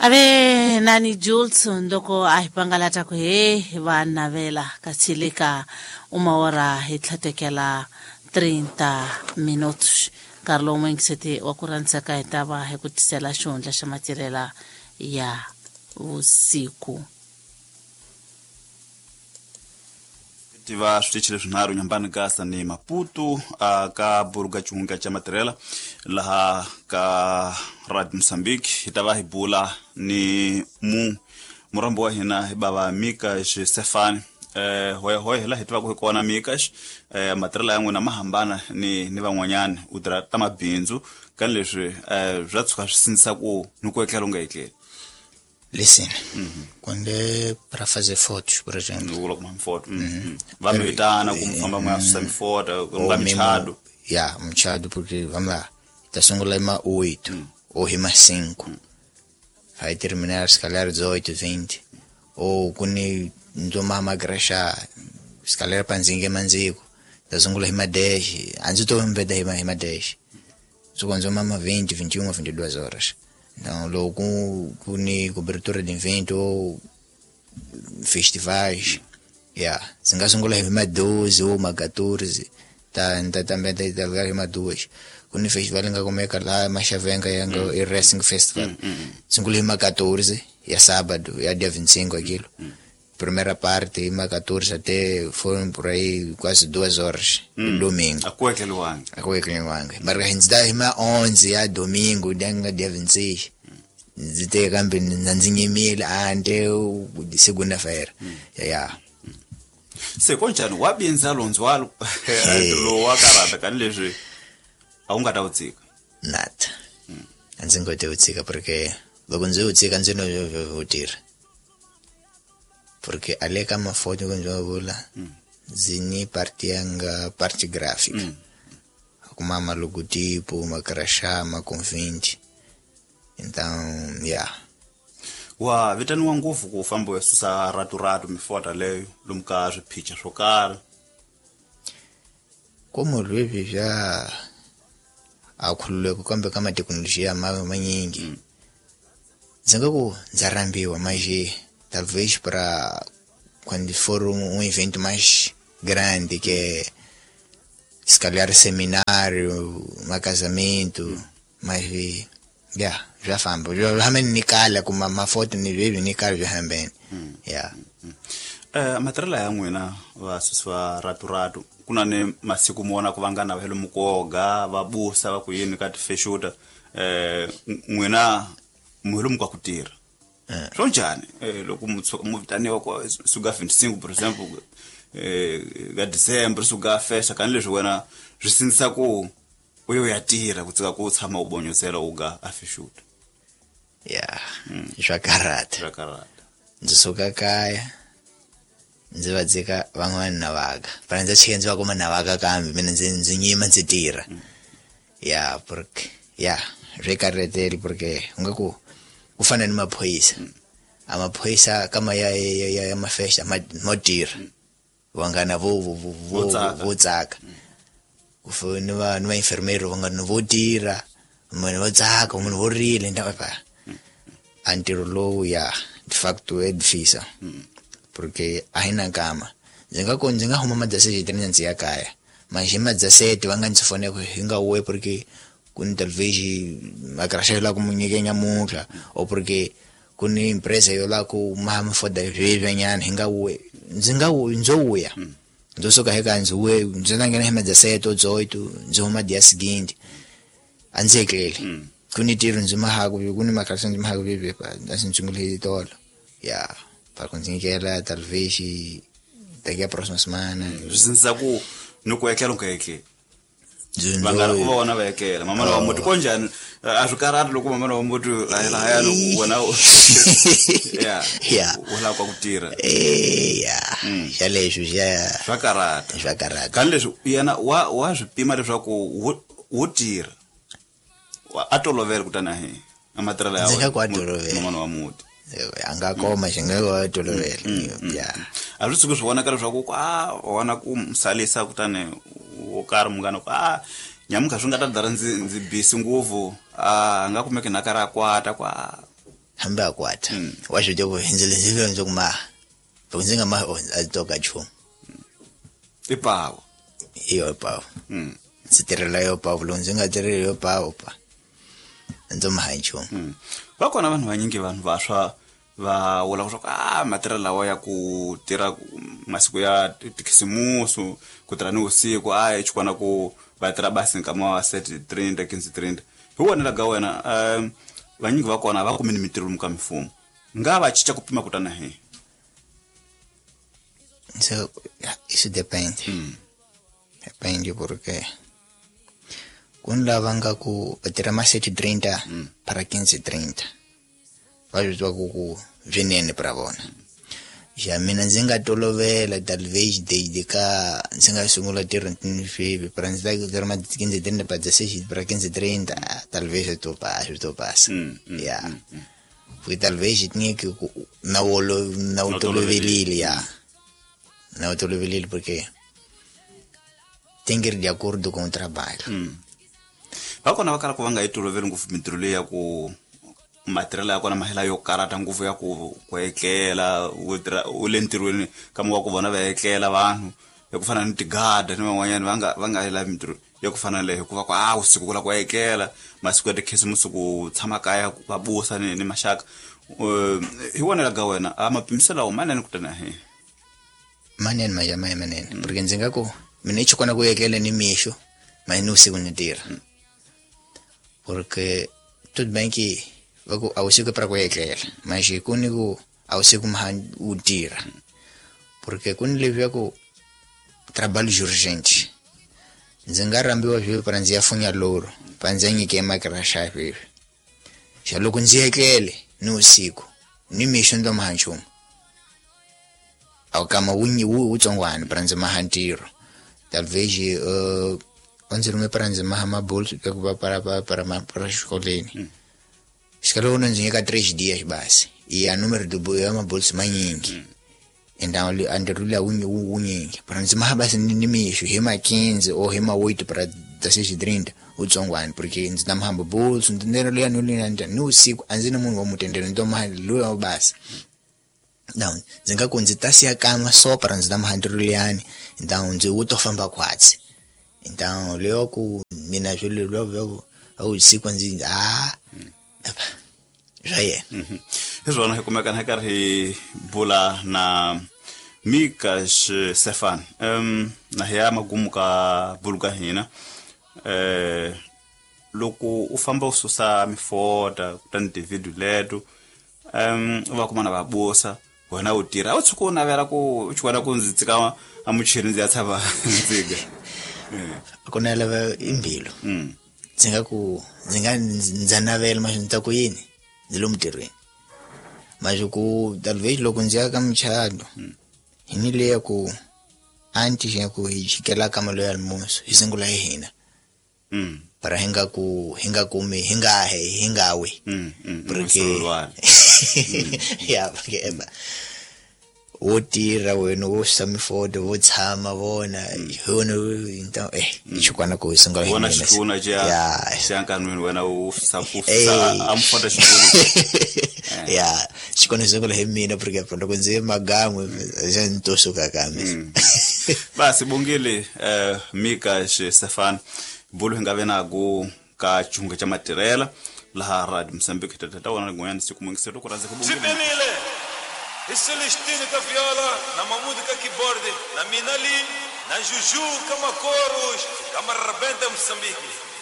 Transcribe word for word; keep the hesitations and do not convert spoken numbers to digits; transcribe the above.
Ave nani Jules ndoko a hi pangalata ku he va navela katsilika uma hora hi tlhatekela trinta minutos nkarhi lowu n'wingiseti wa ku rhandzaka hi ta va hi ku tisela xihundla xa matirhela ya vusiku. Tiva switichi leswinharhu Nyambani Gasa ni Maputo uh, ka buruga chunga cha matirhela laha ka Radio Mozambique hi ta va hi bula ni mu murambo wa hina hi bava Mikash Stefani eh hoya hoya hi laha hi tivaka hi kona Mikash eh matirhela ya n'wina ma hambana ni ni van'wanyana u tirha ta mabindzu ka leswi eh bya tshuka swi sindzisa ku ni ku etlela u nga etleli. Listen, mm-hmm. Quando é para fazer fotos, por exemplo. Vula kuma foto. Va mi vitana ku famba mwa susa mifoto, ku nga michado. Yeah, mchado porque vamos lá. Tá sungula ima oito mm. ou ima cinco. Mm. Vai terminar se calhar dezoito, vinte. Ou quando ndoma magrasha, se calhar panzinga manziko. Tá sungula ima dez, antes tô mbeda ima ima dez. Só quando mama vinte, vinte e uma, vinte e duas horas. Então, logo com, com cobertura de evento ou festivais, yeah. Se nga sungula hi ma doze ou ma catorze, tá, tá também tá tá lugar ma duas. Quando festival nga kumeka lá Machavenga yanga mm. e Racing Festival. Mm, mm. Sungula hi ma catorze, ya sábado, ya dia vinte e cinco aquilo. Mm. Primeira parte, ma catorze até foram por aí quase duas horas, mm. domingo. A cueca luanga. A cueca luanga. Mas a gente dá ma onze ya domingo, denga dia vinte e seis. Ndzi kambe ndzi nyimile ante segunda-feira. Mm. Yeah. Se konjani wabinza lonzwalo lo wakarata kani leswi a wu nga ta wu tshika? Nada. A ndzi nga ta wu tshika porque loko ndzi wu tshika ndzi no wu tirha. Porque ali ka mafoto que ndzo vula ndzi ni parte yanga parte gráfica. Mm. Kuma malogotipo, makrasha, maconvinte. Então, yeah. Wa vitaniwa ngopfu ku famba u ya susa ratu-ratu mifota leyo lomu ka swiphicha swo karhi. Como lwevi vya a khululeko kambe ka mathekinolojiya ma manyingi. Ndzi nga ku ndza rambiwa mas talvez para quando for um, um evento mais grande, que é se calhar seminário, um casamento, mm. mas yeah, já famba. Já realmente ni kala kuma mafoto ni vivi ni kala já hambeni. Yeah. Eh matirhela ya n'wina va susi va ratu-ratu ku na ni masiku mo vona ku vangana va le mukoga va busa va ku yini ka tifexuta eh n'wina muhelo mu ka ku tirha. Swo njhani loko mu vitaniwa ku suka vinte e cinco por exemplo eh ka December suka festa kani leswi wena swi sindzisa ku u yo ya tirha ku tsika ku tshama u bonyosela u ga a fexuta. Yeah. Swa karata. Swa karata. Ndzi suka kaya ndzi va dzika van'wana na vaka. Para ndzi chika ndzi va kuma na vaka kambe mina ndzi ndzi nyima ndzi tirha. Yeah, porque yeah, swi karhateli porque u nga ku ku fana ni maphorisa. A maphorisa kama ya ya ya, ya mafesta ma mo tirha. Vangana vo vo vo vo tsaka. Ku fana ni va ni va enfermeiro vangana vo tirha, munhu vo tsaka, munhu vo rila nda pa. A ntirho lowu ya de facto é difícil. Porque a hi na nkama. Ndzi nga ku ndzi nga huma ma dezessete ndzi ya kaya. Mas hi ma dezessete va nga ndzi fonela ku hi nga we porque ku ni talvez makrasha la ku munyike nyamuntlha ou porque ku ni empresa yo la ku ma foda nyana hi nga we ndzi nga ndzo wuya. Ndzo suka hi ka ndzi we ndzi nga nghena hi ma dezessete ou dezoito ndzi huma dia seguinte. A ndzi etleli. Ku ni tirho ndzi mahaku ku ni makrasha ndzi mahaku vivi pa ndzi sungule hi tolo. Yeah. Para conseguir talvez daqui a próxima semana. Swi sindzisa ku ni ku etlela u nga etleli. Vanghana ku va vona va etlela. Mamana wa muti konjhani a swi karhati loko mamana wa muti lahaya loko wena yeah yeah u lava ku tirha. Eh yeah. Xa leswi xa swa karhata. Swa karhata. Kani leswi yena wa wa swi pima leswaku wo tirha. A tolovela kutani a hi a matirhelo ya Ndzi nga ku a tolovela. mamana wa muti. A nga koma xi nga wa tolovela. Yeah. A swi tshuki swi vonaka leswaku a vona ku musalisa kutani wo karhi munghana ku a nyamuntlha swi nga ta dara ndzi ndzi busy ngopfu a nga kumeki na karhi a kwata ku a Hambi a kwata wa swi tiva ku ndzi ndzi ndzi ku maha loko ndzi nga mahi a to ka nchumu i pawu hi yo pawu ndzi tirhela yo pawu loko ndzi nga tirheli yo pawu pa ndzi maha nchumu. Va kona vanhu vanyingi vanhu vantshwa va vula leswaku a matirhelo lawa ya ku tirha masiku ya tikhisimusi ku tirha ni vusiku a hi xikwana ku va tirha basi nkama wa sete trinta quinze trinta hi wona laga wena um vanyingi va kona va kumi ni mintirho lomu ka mimfumo nga va cinca ku pima kutana hi so isso depende. Mm. Depende porque ku ni lava nga ku va tirha ma sete trinta mm. para quinze trinta va swi tiva ku ku swinene para vona. Ja mina ndzi nga tolovela talvez desde ka ndzi nga sungula ntirho swivi para ndzi ta tirha ma quinze trinta para dezesseis para quinze trinta talvez eu tô passa eu tô passa ya porque talvez tinha que na olo na wu tolovelile ya na wu tolovelile porque tem que ir de acordo com o trabalho. Va kona va kala ku va nga yi toloveli ngopfu mintirho leyi ya ku matirhelo ya kona mahela yo karata ngopfu ya ku ku etlela u tirha u le ntirhweni kambe wa ku vona va etlela vanhu ya ku fana ni tigada ni van'wanyana va nga va nga yi lavi mintirho ya ku fana leyo hikuva ku a usiku ku lava ku etlela masiku ya tikhisimusi ku tshama kaya va busa ni ni maxaka. Hi vonela ka wena a mapimiselo lawa manene kutani hi manene maja ma manene porque ndzi nga ku mina i xikona ku etlela ni mixo mas ni usiku ni tirha porque tudo bem que va ku a usiku para ku etlela mas ku ni ku a usiku ma u tirha porque ku ni leswi ya ku trabalho urgente ndzi nga rhambiwa swi para ndzi ya funya loro pa ndzi ya nyike makirasha swi xa loko ndzi etlele ni usiku ni mixo ndo maha nchumu a kama wu wu tsongwana para ndzi maha ntirho talvez uh, ndzi rhume para ndzi maha mabolso ku va para para para para xikolweni xikalo ndzi nyika três dias basi e a número do ya mabolso manyingi então a ntirho luya wu wunyingi para ndzi maha basi ni mixo hi ma quinze ou hi ma oito para dezesseis trinta utsongwana porque ndzi ta mahamba bolso ndzi luya ni luya ni usiku a ndzi na munhu wa mutendelo ndzi to maha luya basi não ndzi nga ku ndzi ta siya kama só para ndzi ta maha ntirho luyani então ndzi wu to famba khwatsi então leyo ku mina swilo lwa a usiku ndzi ah swa yena. Hi swona hi kumekana hi karhi hi bula na Mika Stefan um na hi ya magumu ka bulu ka hina eh loko u famba u susa mifota kutani tividiyo leto um u va kuma na va busa wena u tirha a wu tshuka u navela ku u xikwana ku ndzi tsika a muchini ndzi ya tshama ndziga ku navela i mbilu ndzi nga ku ndzi nga ndza navela mas ndzi ta ku yini ndzi lomu ntirhweni mas ku talvez loko ndzi ya ka muchato hi ni leya ku antes ya ku hi chikela ka malo ya almoço hi sungula hi hina para hi nga ku hi nga kumi hi nga he hi nga wi porque ya porque eba wo tirha wena wo susa mifoto wo tshama vona hi wona então eh xikwana ku hi sungula hi vona xikuna xa xa nkanwini wena u susa ku susa a mfoto xikuna ya xikwana sungula hi mina porque loko ndzi ye magan'we xa ni to suka kambe basi bongile eh Mika Stefan bulu hi nga ve na ku ka xihunga xa matirhela laha Radio Mozambique tata wona rin'wanyana siku mungiselo ku rhandza ku bongile e Celestino com a viola, na Mamudo com a keyboard, na Minali, na Juju com a Coros, com a Rebenta Moçambique.